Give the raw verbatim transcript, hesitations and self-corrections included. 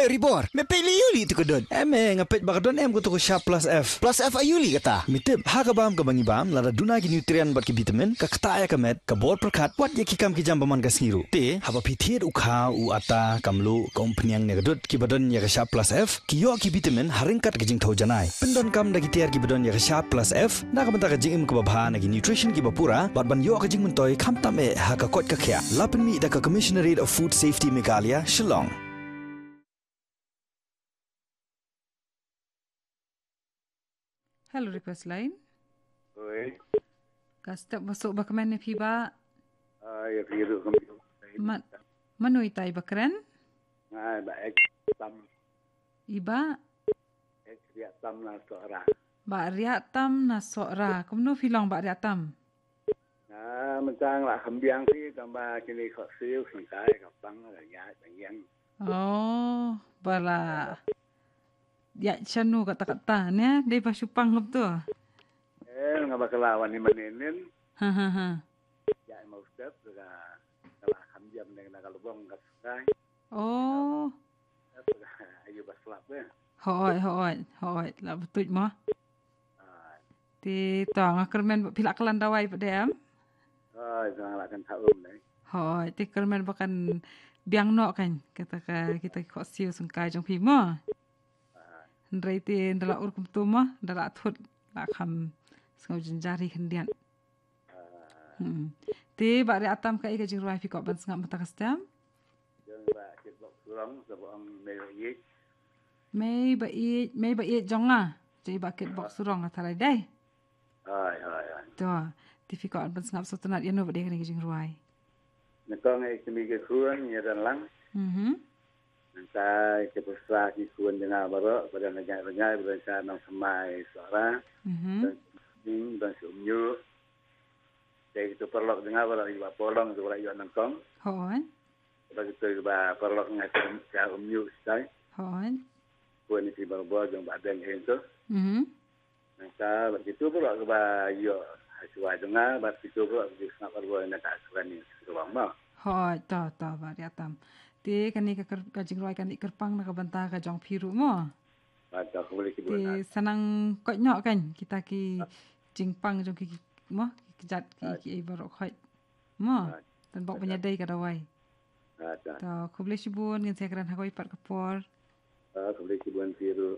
Ribor, me peit lei ïa u lei tu ka dud. Em, eh, nga peit ba ka don em ka tu ka Sharp Plus F. Plus F aïu lei kata? Me tip, ha ka bam kaba ngi bam, lada duna ki nutrient bad ki vitamin, ka ktah ïa ka met, ka bor pyrkhat, wat ïa ki kam ki jam ba man ka sngi ruh. Te, haba phi thied u kha, u atta, ka mluh, ka umphniang ne ka dud, kiba don ïa ka Sharp Plus F, ki ïoh ki vitamin, ha ryngkat ka jingthew janai. Pyndonkam da ki tiar kiba don ïa ka Sharp Plus F, na ka bynta ka jingim kaba bha na ki nutrition kiba pura, bad ban ïoh ka jingmyntoi, khamtam eh, ha ka koit ka khiah. La pynmih da ka Commissionerate of Food Safety Meghalaya, Shillong. Hello, request line. Oi. Ka step masuk ba kmen ne phi ba? Ah, ïa phi ruh kum. Ma-, mano ita i ba kren? Nga ba ek tam. I ba? Ek riak tam na Sohra. Ba riak tam na Sohra. Kumno phi long ba riak tam? Na, mentang lah kembiang si, tambah kini kok siu, sengkai, kapang, lah ya, yang. Oh, bala. Ya, shanu kata-kata, ne? Dei ba shupang ngap tu. Eh, ngaba kelawan ni meninin. Ha, ha, ha. Ya, mau step, lah, lah kembiang dengan kalau bong, kat sekai. Oh. Ayu ba slap, eh. Hoi, hoi, hoi. La betul mah. Ah. Ti to nga kyrmen phi la klan dawai pat em? Hoi, to nga la kan thaum ne. Hoi, ti kyrmen ba kan biang noh kan. Kata ka, kita kok siu sengkai jong phi mo. Ah. Hynrei ti nda la ur kumtu mo, nda la thut la kham sngew jynjar hi khyndiat. Ah. Hmm. Ti ba riak tam ka i ka jingrwai phi kok ban sngap mynta ka step? Jong ba kit bok surong, sa ba ong mei ba ïeit. Mei ba ïeit, mei ba ïeit jong nga. Jong i ba kit bok surong nga tharai dei. Hoi, hoi, hoi. To, ti phi kok ban sngap sngewtynnat ïa no ba dei kane ka jingrwai. Nyngkong eh kini ki khun, ïa dan lang. Mhm. Nangta ki pyrsa ki khun jong nga baroh, ba don ryngai ryngai, ba don sha Nongthymmai Sohra. Mhm. Don Ning, don sha Umñiuh. Te ki tu paralok jong nga baroh, i ba Polong tu baroh ïoh nyngkong. Hoi. Ba ki tu ba paralok nga sha, sha Umñiuh sitai. Hoi. Khun ïa ki barabor jong ba dang hyn tu. Mhm. Nangta ba ki tu baroh ba ïoh ha shuwa jong nga, ba ki tu baroh ki sngap barabor na ka shuwa ni shuwa ma. Hoi, to, to, ba riak tam. Te kane ka kyr-, ka jingrwai kane kyrpang na ka bynta ka jong phi ruh mo. Ba to, khublei shibun. Te sanang koit noh kan kita ki jingpang jong ki, ki, mo, ki kjat ki, ki ei baroh khoit. Mo, tan bok pynïadei ka dawai. To, khublei shibun, ngin sa ïakren ha kawei pat ka por. Ah, khublei shibun phi ruh.